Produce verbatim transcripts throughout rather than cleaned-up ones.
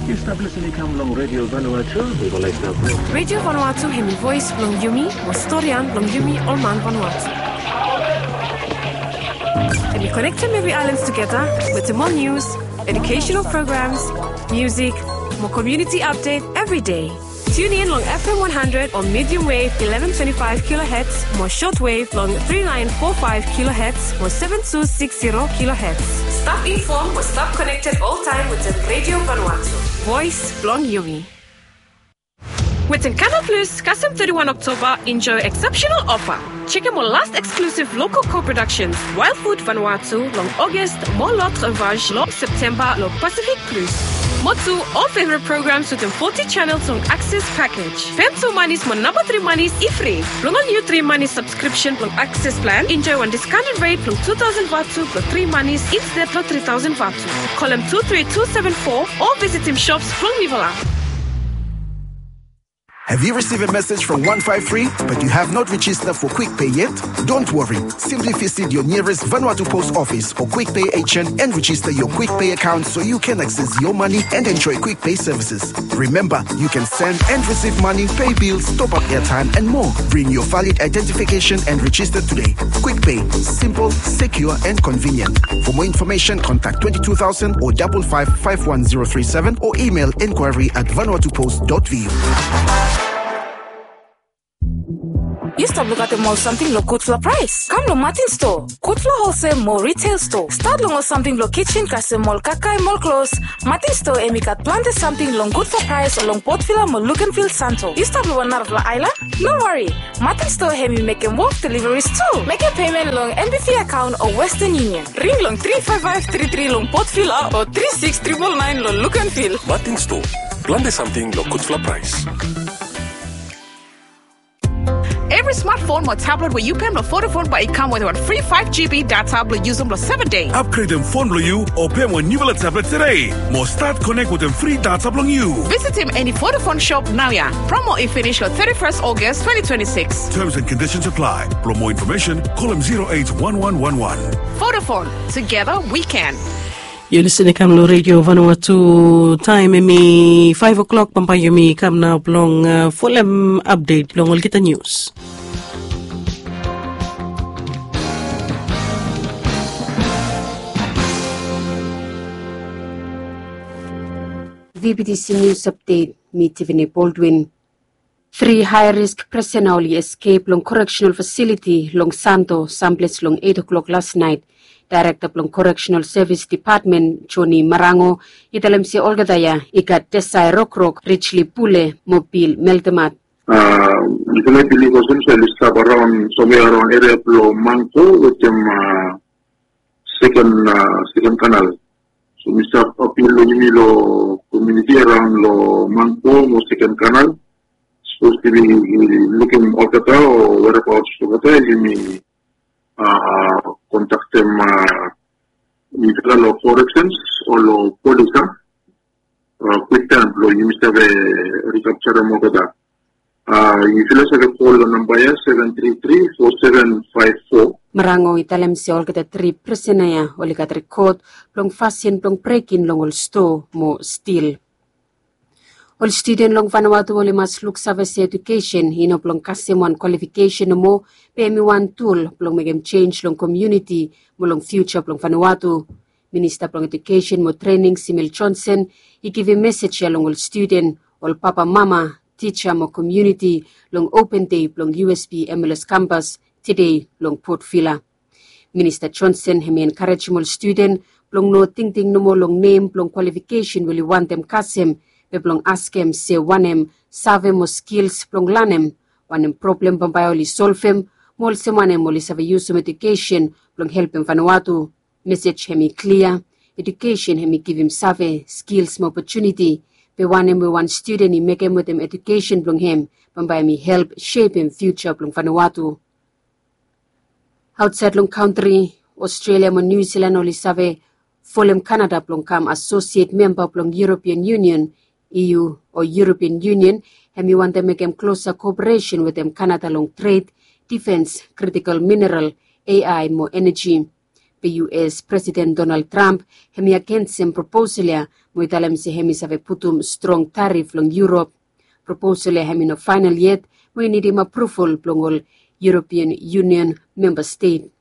Yu stap lisin i kam long Radio Vanuatu, mi go laik stap. Radio Vanuatu hemi voes blong yumi, mo storian blong yumi ol man Vanuatu. Hemi konektem evri aelan tugeta wetem ol nius, educational programs, musik, mo community update evri dei. Tune in long F M one hundred o medium wave eleven twenty-five kilohertz mo short wave long three nine four five kilohertz mo seven two six zero kilohertz. Stap informed mo stap connected oltaem wetem Radio Vanuatu, voes blong yumi. Wetem Canal Plus, kasem thirty-one October, enjoy exceptional offer. Chekem ol last exclusive local co-productions, Wild Food Vanuatu long August, mo L'Autre Vache long September long Pacific Plus. Mo tu, ol favorite programs wetem forty channels long Access package. Pem tu manis mo namba tri manis i fri. Blong ol niu tri manis subscription blong Access plan, enjoy wan discounted rate blong two thousand vatu blong tri manis instead long three thousand vatu. Kolem two three two seven four o visitim shops blong Mivela. Have you received a message from one five three but you have not registered for Quick Pay yet? Don't worry. Simply visit your nearest Vanuatu Post Office or Quick Pay agent and register your Quick Pay account so you can access your money and enjoy Quick Pay services. Remember, you can send and receive money, pay bills, top up airtime, and more. Bring your valid identification and register today. Quick Pay, simple, secure, and convenient. For more information, contact twenty-two thousand or double five five one zero three seven or email inquiry at vanuatupost dot V U. Yu stap lukaotem ol samting lo gudfala praes? Kam lo Martin Store, gudfala wholesale mo retail store. Stat long ol samting blo kitchen kasem ol kakae mo ol klos. Martin Store hemi gat plante samting long gudfala praes long Port Vila mo Luganville, Santo. Yu stap lo wan narafala aelan? No wari, Martin Store hemi mekem wok deliveries tu. Mekem payment long N B V account o Western Union. Ring long three five five three three long Port Vila o three six triple nine long Luganville. Martin Store, plante samting lo gudfala praes. Evri smartphone mo tablet we yu pem lo Vodafone bae i kam wetem wan fri five G B data blo yusum lo seven dei. Upgradem fon blo yu o pem wan niufala tablet tede mo stat konek wetem fri data blong yu. Visitim eni Vodafone shop naoia. Promo i finis lo thirty-first August twenty twenty-six. Terms and conditions apply. Blo moa infomesen, kolem zero eight one one one one. Vodafone, together we can. Yu lisin i kam lo Radio Vanuatu, taem hemi five o'clock, bambae yumi kam nao blong, uh, folem update blong olgeta nius. V B T C News Update, mi Tiffany Baldwin. Tri high risk prisona oli escape long correctional facility long Santo, samples long eight o'clock last night. Director blong Correctional Service Department, Johnny Marango, i talem se olgeta ia i gat Desai Rokrok, Richly Pule mo Bill Meltemat. Yufala i bilif olsem se oli stap around, somewhere around area blong Mangko wetem second, second canal. So mi stap apil long yumi lo community around lo Mangko mo second canal. Sapos yumi lukim olgeta o whereabouts olgeta, yumi kontaktem mifala lo corrections o lo polis, a, kwiktaem blo yumi save rikapjarem olgeta. Yufala save kol lo namba ia, seven three three four seven five four. Marango i talem se olgeta tri prisona ia oli gat rekod blong fasin blong brekin long ol stoa mo stil. Ol studen long Vanuatu oli mas luksave se edukesen i no blong kasem wan kwalifikesen nomo, be hemi wan tul blong mekem jenj long komuniti mo long fiuja blong Vanuatu. Minista blong Edukesen mo Trening, Simil Johnson, i givim mesej ia long ol studen, ol papamama, tija mo komuniti long open dei blong U S P M L S kampas tede long Port Vila. Minista Johnson hemi enkarejem ol studen blong no tingting nomo long nem blong kwalifikesen we oli wantem kasem, be blong askem se wanem save mo skils blong lanem, wanem problem bambae oli solvem, mo olsem wanem oli save yusum edukesen blong helpem Vanuatu. Mesej hemi klia, edukesen hemi givim save, skils mo opotuniti, be wanem we wan studen i mekem wetem edukesen blong hem bambae hemi help sepem fiuja blong Vanuatu. Aotsaed long kantri, Australia mo New Zealand oli save folem Canada blong kam asosiet memba blong European Union, E U, o European Union hemi wantem mekem klosa koperesen wetem Canada long tred, difens, kritikol mineral, A I mo eneji. Be U S Presiden Donald Trump hem i agensem proposal ya mo i talem se hem i save putum strong tarif long Yurop. Proposal ya hem i no faenal yet mo i nidim apruval blong ol European Union memba stet.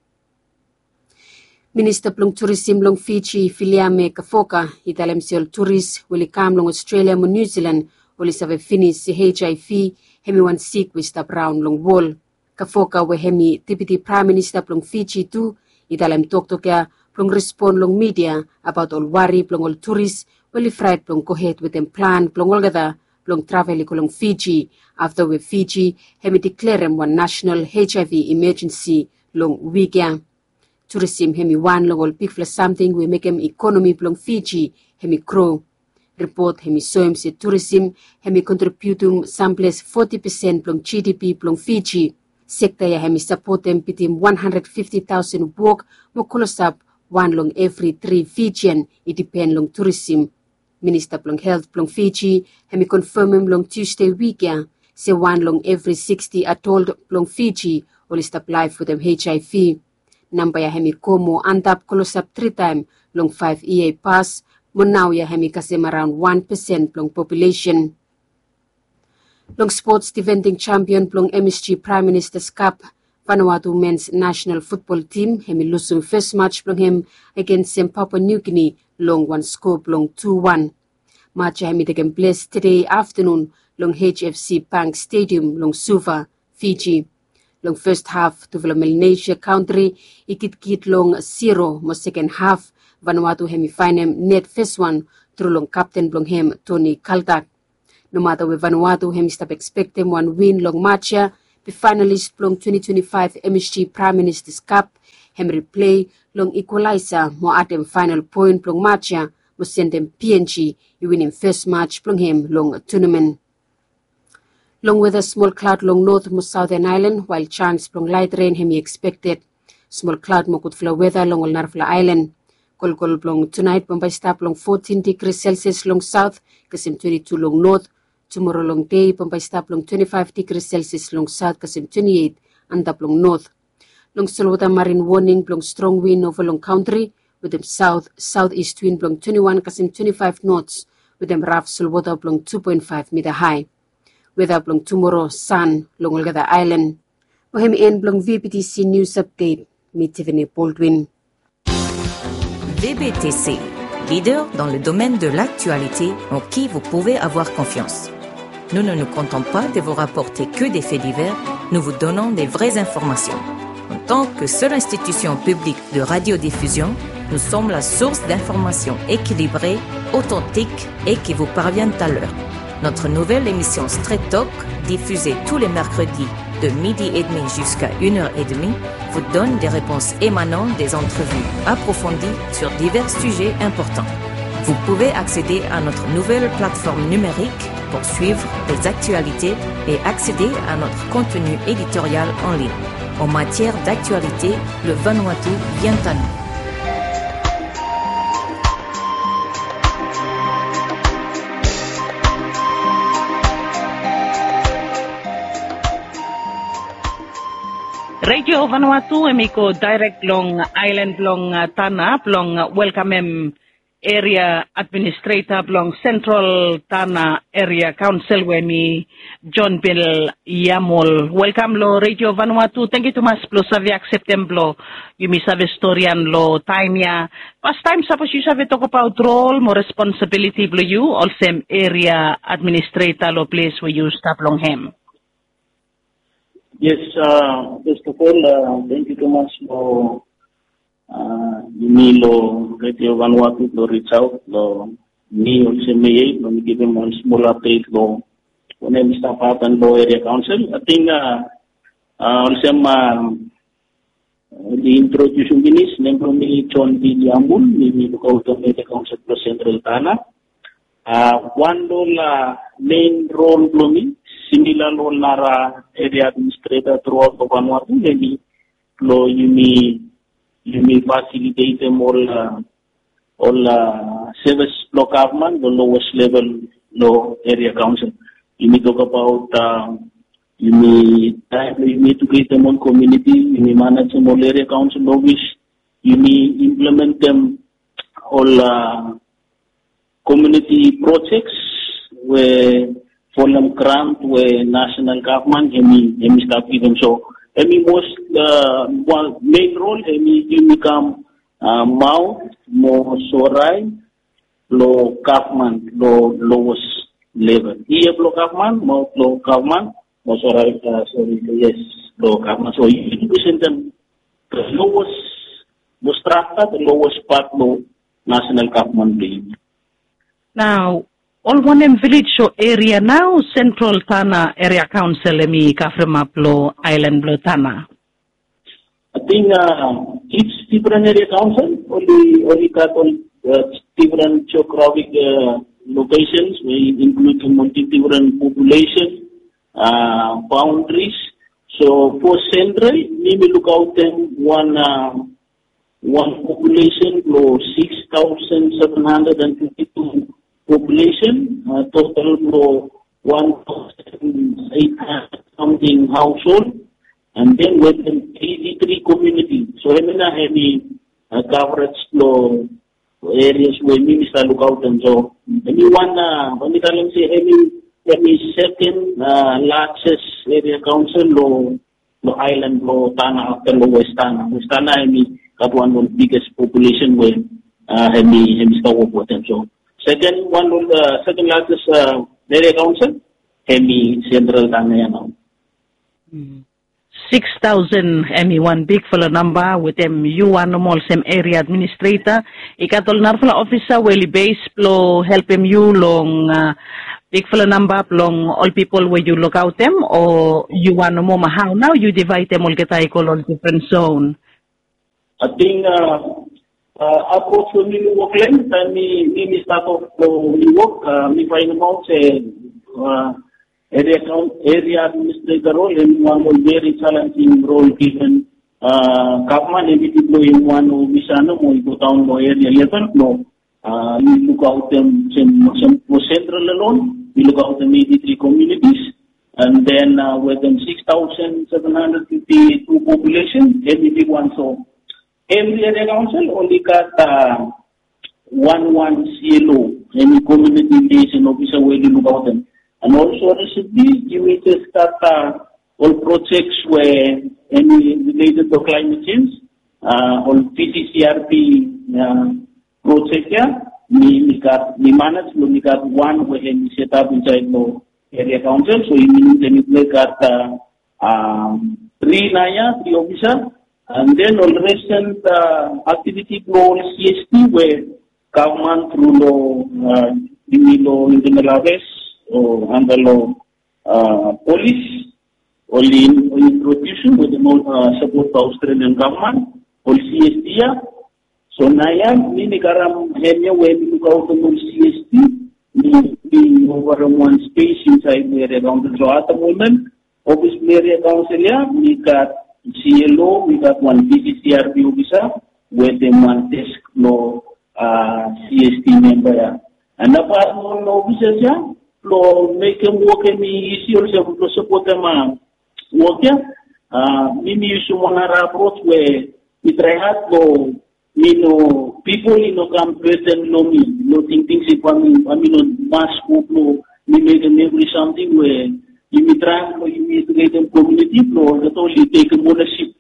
Minista blong turisim long Fiji, Viliame Kavoka, i talem se ol turis we oli kam long Australia mo New Zealand oli save finis se H I V hem i wan sik we i stap raon long wol. Kavoka we hem i Deputi Praem Minista blong Fiji tu i talem toktok ya blong respon long midia abaot ol wari blong ol turis we oli fraet blong gohed wetem plan blong olgeta blong travel i go long Fiji afta we Fiji hem i deklerem wan nasenal H I V imajensi long wik ya. Turisim hem i wan long ol bigfala samting we mekem ikonomi blong Fiji hem i gro. Ripot hem i soem se turisim hem i kontribiutum samples foti pesen blong G D P blong Fiji. Sekta ya hem i sapotem bitim wan handred fifti taosen wok mo klosap wan long evri tri Fijian i dipen long turisim. Minista blong Helt blong Fiji hem i konfamem long Tusde wik ya se wan long evri siksti adolt blong Fiji oli stap laef wetem H I V. Namba ya hem i go mo antap klosap tritaem long faef yia i pas, mo nao ya hem i kasem araon wan pesen blong populesen. Long spots, difending jampion blong M S G Praem Ministas Kap, Vanuatu mens nasenal futbol tim hem i lusum fes maj blong hem agensem Papua Niu Gini long wan skoa blong tu wan. Maj ya hem i tekem ples tede aftanun long H F C Bank Stadium long Suva, Fiji. Long fes haf tufala Melanesia kantri i gitkit long siro mo seken haf Vanuatu hem i faenem net fes wan tru long kapten blong hem Toni Kaltak. Nomata we Vanuatu hem i stap ekspektem wan win long maj ya, be faenalis blong twenti twenti faef M S G Praem Ministas Kap hem i riplei long ikwalaesa mo adem faenal poen blong maj ya mo sendem P N G i winim fes maj blong hem long tunamen. Long weta, smol klaod long not mo saoten aelan wael janis blong laet ren hem i ekspekted. Smol klaod mo gudfala weta long ol narafala aelan. Kolkol blong tunaet bambae i stap long fotin digri Celsius long saot kasem twenti tu long not. Tumoro long dei bambae i stap long twenti faef digri Celsius long saot kasem twenti eit antap long not. Long solwota marin woning blong strong win ova long kantri wetem saot saot ist win blong twenti wan kasem twenti faef nots wetem raf solwota blong tu poen faef mita hae. Weta blong tumoro, san long olgeta aelan. Mo hem i en blong V B T C News Update. Mi Tiffany Baldwin. V B T C, leader dans le domaine de l'actualité en qui vous pouvez avoir confiance. Nous ne nous contentons pas de vous rapporter que des faits divers, nous vous donnons des vraies informations. En tant que seule institution publique de radiodiffusion, nous sommes la source d'informations équilibrées, authentiques et qui vous parviennent à l'heure. Notre nouvelle émission Straight Talk, diffusée tous les mercredis de midi et demi jusqu'à une heure et demie, vous donne des réponses émanant des entrevues approfondies sur divers sujets importants. Vous pouvez accéder à notre nouvelle plateforme numérique pour suivre les actualités et accéder à notre contenu éditorial en ligne. En matière d'actualité, le Vanuatu vient à nous. Redio Vanuatu hem i go daerek long aelan blong, uh, Tana blong, uh, welkamem eria administreta blong Sentral Tana Eria Kaonsel we hem i John Bill Yamol. Welkam long Redio Vanuatu. Tangkiu tumas blong save akseptem blong yumi save storian long taem ya. Fastaem, sapos yu save tokbaot rol mo responsabiliti blong yu olsem eria administreta long ples we yu stap long hem. Yes, uh, first of all, uh, tangkiu tumas long, uh, yumi long Redio Vanuatu blong reach out long mi olsem meia blong mi givim wan smol update long wanem i stap hapen long Eria Kaonsel. Ating, uh, uh, olsem, uh, oli introdiusim finis, nem blong mi John Bill Yamol, mi, mi lukaotem Eria Kaonsel blong Sentral Tana. Uh, wan long ol, uh, mein rol blong mi, simila long ol nara eria administreta truaot long Vanuatu, hemi blong yumi, yumi fasilitetem ol, uh, ol, uh, sevis blong gavman long lowest level long Eria Kaonsel. Yumi tokbaot, uh, yumi traem blong yumi eduketem ol komuniti, yumi manejem ol Eria Kaonsel ofis, yumi implementem ol komiuniti projeks we folem grant we nasenal gavman hemi hemi stap givim. So hemi mos, mein rol hemi yumi kam maot mo sorai long gavman long lowes level. Ia blong gavman maot long gavman mo sorai, sori, yes, long gavman. So yumi presentem long lowes, long strakta, long lowes pat long nasenal gavman blong yumi. Nao ol wanem vilej o eria nao sentral Tanna Eria Kaonsel hemi kavremap long aelan blong Tanna? Ating its difren eria kaonsel oli oli gat ol difren jeografik lokesens we inkluding ol difren populesen baondris. So fo sentral mi mi lukaotem wan wan populesen blong six taosen seven handred and fifti tu populesen, total blong wan taosen eit handred samting haoshol, and then wetem eiti tri komiuniti. So hemia nao hemi kavrej blong erias we mi mi stap lukaotem. So hemi wan we mi talem se hemi hemi seken lajes eria kaonsel long long aelan blong Tanna afta long Westana. Westana hemi gat wan long biges populesen we hemi hemi stap wok wetem. So seken wan long seken lajes eria kaonsel hemi sentral Tanna ya nao. Six taosen hemi wan bigfala namba wetem yu wan nomo olsem eria administreta. I gat ol narafala ofisa we oli bes blong helpem yu long bigfala namba blong ol pipol we yu lukaotem, o yu wan nomo, ma hao nao yu divaedem olgeta i go long difren zon? Ating aproj blong mi mi wok long hem taem mi mi mi stat of blong mi wok, mi faenemaot se eria kaon eria administreta rol hemi wan long veri jalenjing rol given gavman hemi diploem wan ofisa nomo i godaon long eria level blong mi lukaotem sem sem blong sentral alon mi lukaotem eiti tri komiunitis, and then wetem six taosen seven handred fifti tu populesen hemi bigwan. So evri eria kaonsel oli gat wan wan CLO, hemi komiuniti liaison ofisa we oli lukaotem. And olso risentli yumi jes gat ol projeks we hemi rileted long klaemet jenj, ol VCCRP projek ya mi mi gat mi manej blong mi gat wan we hemi setap insaed long eria kaonsel. So i minim se mipela i gat tri naoia, tri ofisa, and then ol resen aktiviti blong ol CST we gavman tru long yumi long Internal Affairs o anda long polis oli introdusim wetem ol sapot blong Australian gavman, ol CST ya. So naoia mi mi karem hemia we mi lukaotem ol CST, mi mi ovarem wan spes insaed long eria kaonsel. So at the moment ofis blong eria kaonsel ya mi gat CLO, mi gat wan VCCRP ofisa wetem wan desk blong CST memba ya. And apat long ol ofisas ya blong mekem wok hemi isi olsem blong sapotem wok ya, mi mi yusum wan nara aproj we mi trae had blong mi no pipol i no kam beten long mi long tingting se bae mi bae mi no mas go blong mi mekem evri samting we yumi traem blong yumi eduketem komiuniti blong olgeta oli tekem onasip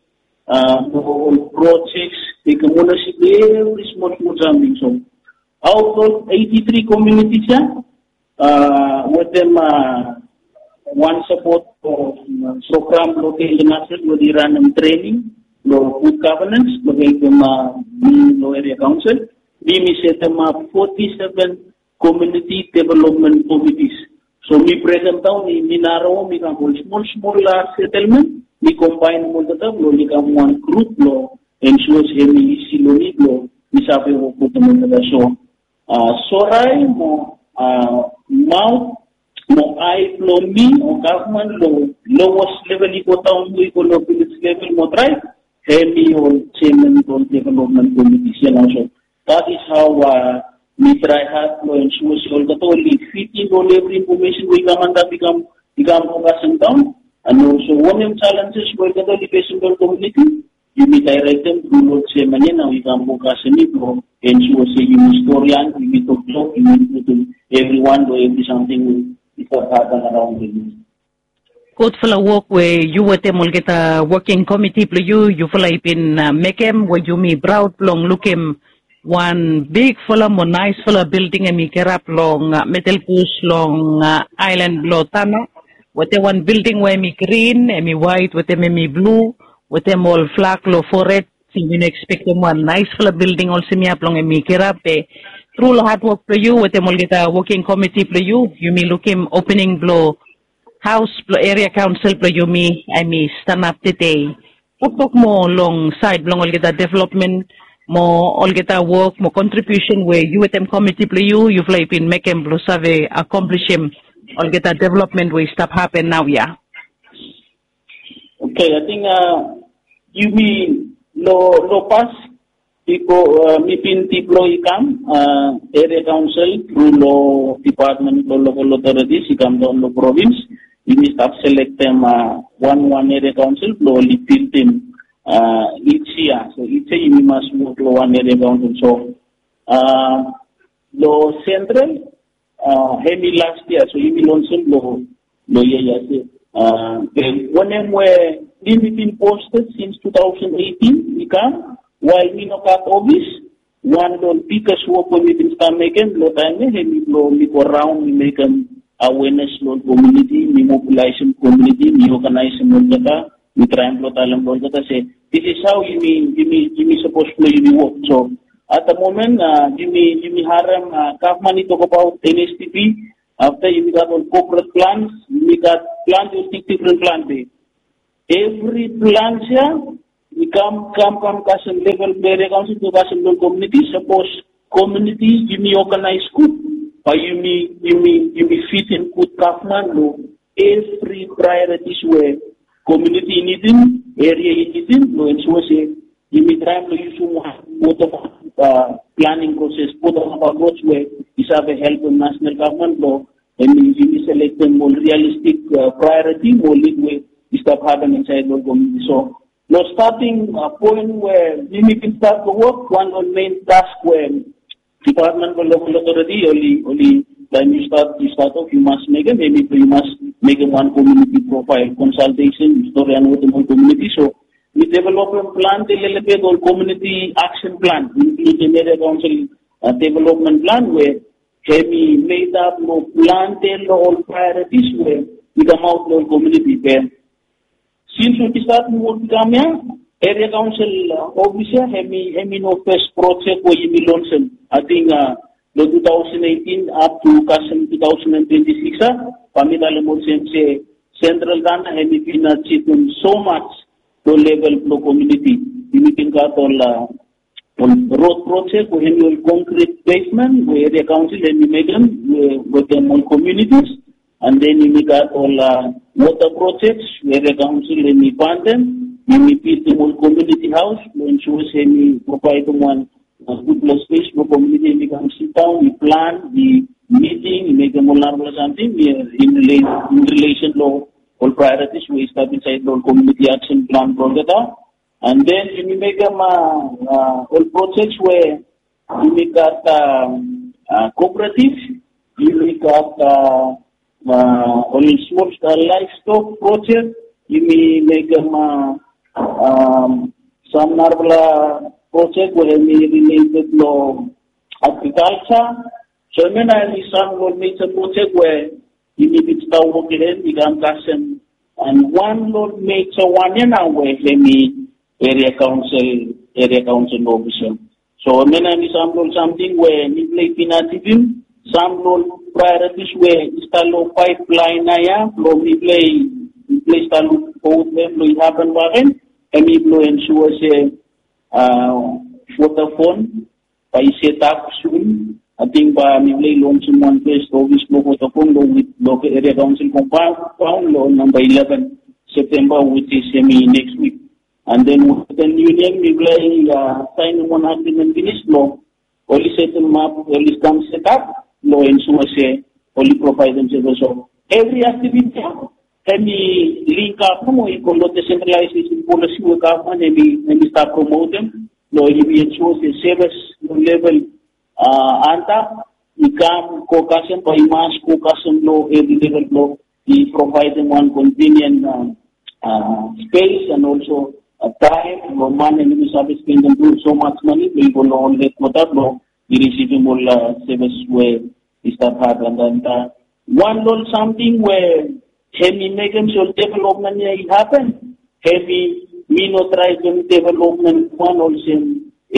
blong ol projeks, tekem onasip long evri smol smol samting. So aot long eiti tri komiunitis ya wetem wan sapot program blong International we oli ranem trening long gud gavanens blong helpem mi long eria kaonsel, mi mi setemap foti seven komiuniti developmen komitis. So mi brekemdaon i mi narawa mi kam ol smol smol setelmen, mi kombaenem olgeta blong oli kam wan grup blong ensua se hemi isi long mi blong mi save wok wetem olgeta. So sorai mo maot mo ae blong mi o gavman long lowes level i go daon mo i go long vilej level mo trae hemi ol jeaman blong developmen komitis ya nao. So that is hao mi trae had blong ensua se olgeta oli fitim ol evri infomesen we i kam antap i kam i kam long pasin daon. And olso wanem jalenjes we olgeta oli fesem long komiuniti yumi daerektem tru long olsem mani nao i kam long kasem i blong ensua se yumi storian, yumi toktok, yumi lukim evriwan long evri samting we i stap hapen araon long yumi. Gudfala wok we yu wetem olgeta woking komiti blong yu yufala i bin mekem we yumi praod blong lukim wan bigfala mo naesfala bilding hem i kirap long medelbus long aelan blong tana, wetem wan bilding we hem i grin, hem i waet wetem hem i blu, wetem ol flak long fored. Yumi no ekspektem wan naesfala bilding olsem ya blong hem i kirap be tru long hadwok blong yu wetem olgeta woking komiti blong yu, yumi lukim opening blong haos blong eria kaonsel blong yumi hem i stanap tede. Toktok moa long saed blong olgeta developmen mo olgeta wok mo kontribiusen we yu wetem komiti blong yu yufala i bin mekem blong save akomplisim olgeta developmen we i stap hapen naoia. Oke, ating yumi long pas bifo mi bin diploi i kam eria kaonsel tru long dipatmen blong lokal otoritis i kam daon long provins. Yumi stap selektem wan wan eria kaonsel blong oli bildim its yia. So its yia yumi mas wok long wan eria kaonsel. So long sentral hem i las yia, so yumi lonsem long long yia yia se wanem we mi bin posted since two thousand eighteen i kam wael mi no gat ofis. Wan long biggest wok we mi bin stap mekem long taem ya hem i blong mi go raon mi mekem awenes long komuniti, mi mobilaesem komuniti, mi oganaesem olgeta, mi traem blong talem long olgeta se this is hao yumi yumi yumi sapos blong yumi wok. So at the moment yumi yumi harem gavman i tokbaot NHDP. Afta yumi gat ol corporate plans, yumi gat plante ol bigdifren plan be evri plans ya i kam kam kam kasem level blong eria kaonsel tu kasem long komuniti. Sapos komuniti yumi oganaes gud, bae yumi yumi yumi fitim gud gavman long evri praeoritis we komuniti i nidim, eria i nidim long ensua se yumi traem long yusum wan bottom up planing proses, bottom up approach we i save helpem nasenal gavman blong hem i yumi selektem ol rialistik praeoriti mo lid we i stap hapen insaed long komuniti. So long stating poen we yumi bin stat long wok, wan long mein task we dipatmen blong lokal otoriti oli oli taem yu stat yu stat of yu mas mekem hem i blong yu mas mekem wan komuniti profael, konsaltesen, storian wetem ol komuniti. So mi developem plante lelebet ol komuniti aksen plan, inkludim eria kaonsel developmen plan we hem i medap long plante long ol praeoritis we i kamaot long ol komuniti. Be sins we mi stat mi wok i kam ya, eria kaonsel ofis ya hem i hem i no fes projek we yumi lonsem. Ating long two thousand eighteen up to kasem two thousand and twenty six ya, bae mi talem olsem se sentral tana hem i bin ajivim so much long level blong komuniti. Yumi bin gat ol ol rod projek we hem i ol konkrit pevmen we eria kaonsel hem i mekem wetem ol komunitis. And then yumi gat ol wota projek we eria kaonsel hem i pandem. Yumi bildim ol komuniti haos blong ensua se hem i provaedem wan gudpela spes blong komuniti hem i kam sidaon i plan i miting i mekem ol narafala samting in relesen long ol praeoritis we i stap insaed long ol komuniti aksen plan blong olgeta. And then yumi mekem ol projek we yumi gat kooperativ, yumi gat ol smol livestock projek, yumi mekem sam narafala projek we hem i rileted long agrikalsa. So hemia nao hem i sam long ol meja projek we yumi bin stap wok long hem i kam kasem. And wan long ol meja wan ya nao we hem i eria kaonsel, eria kaonsel ofis ya. So hemia nao hem i sam long ol samting we mipela i bin ajivim. Sam long ol praeoritis we i stap long paepelaen nao ya blong mipela i mipela i stap lukfowod long hem blong i hapen bakegen, hem i blong ensua se Vodafone bae i setap sun. Ating bae mipela i lonsem wan fes ofis blong Vodafone long wit long eria kaonsel kompaon long namba eleven Septemba, which is hemi next week. And then Western Union mipela i saenem wan agreement finis blong oli setelap, oli kam setap blong ensua se oli provaedem se olsem evri aktiviti ya Hemi link up mo i go lo decentralization policy we gavman hemi hemi stap promotem lo yumi ensure se service lo level uh, anta i kam go kasem ba i mas go kasem lo every level lo i providem one convenient uh, uh, space and also uh, time lo man and yumi save spendem so much money lo i go lo ol headquarter lo i receivem ol uh, service we i stap had and then uh, one lo ol something we hemi mekem se ol development ia i happen hemi mi no try to development wan olsem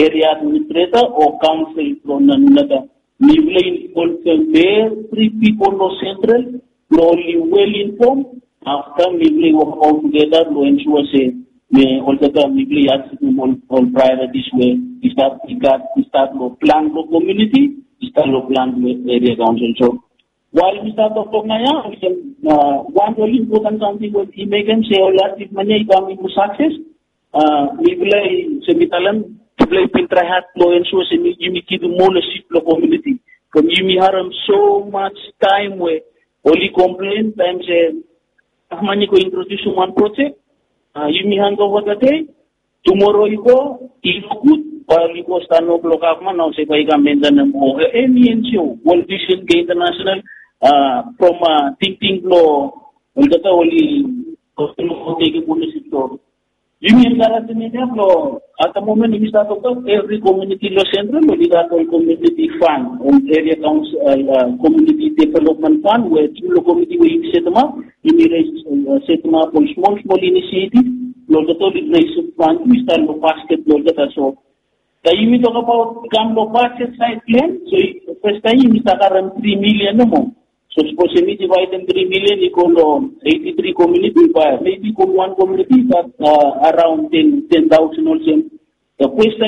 area administrator o council from another. Mi will involve them every people no central no only well informed after mi will work all together no ensure se me oltata mi will ask them all, all priorities where we start we got we start no plan for community, we start no plan for area council. So Wael mi stap toktok naoia olsem wan ol impoten samting we i mekem se ol ativman ia i kam i go sakses. Mifala i se mi talem mifala i bin trae had long ensua se yumi givim moa long sip long komuniti. From yumi harem so mach taem we oli komplen taem se gavman i go introdiusim wan projek, yumi handova tadei, tumoro i go i no gud, bae oli go stanop long gavman nao se bae i kam mentenem o eni enjio, World Vision ge International, from tingting blong olgeta oli go tekem onesip long. Yumi enkarejem mifala blong at the moment yumi stap toktok evri komuniti long sentral oli gat ol komuniti fan, ol eria kaunsil, komuniti development fan we tru long komuniti we yumi setemap, yumi res setemap ol smol smol inisietiv blong olgeta oli res fan tu i stap long basket blong olgeta. So taem yumi tokabaot i kam long basket saed plen, so fastaem yumi stap harem tri milian nomo. So sapos yumi divaedem tri milian i go long eiti tri komuniti, bae mebi go wan komuniti i gat araon ten ten taosen olsem. The question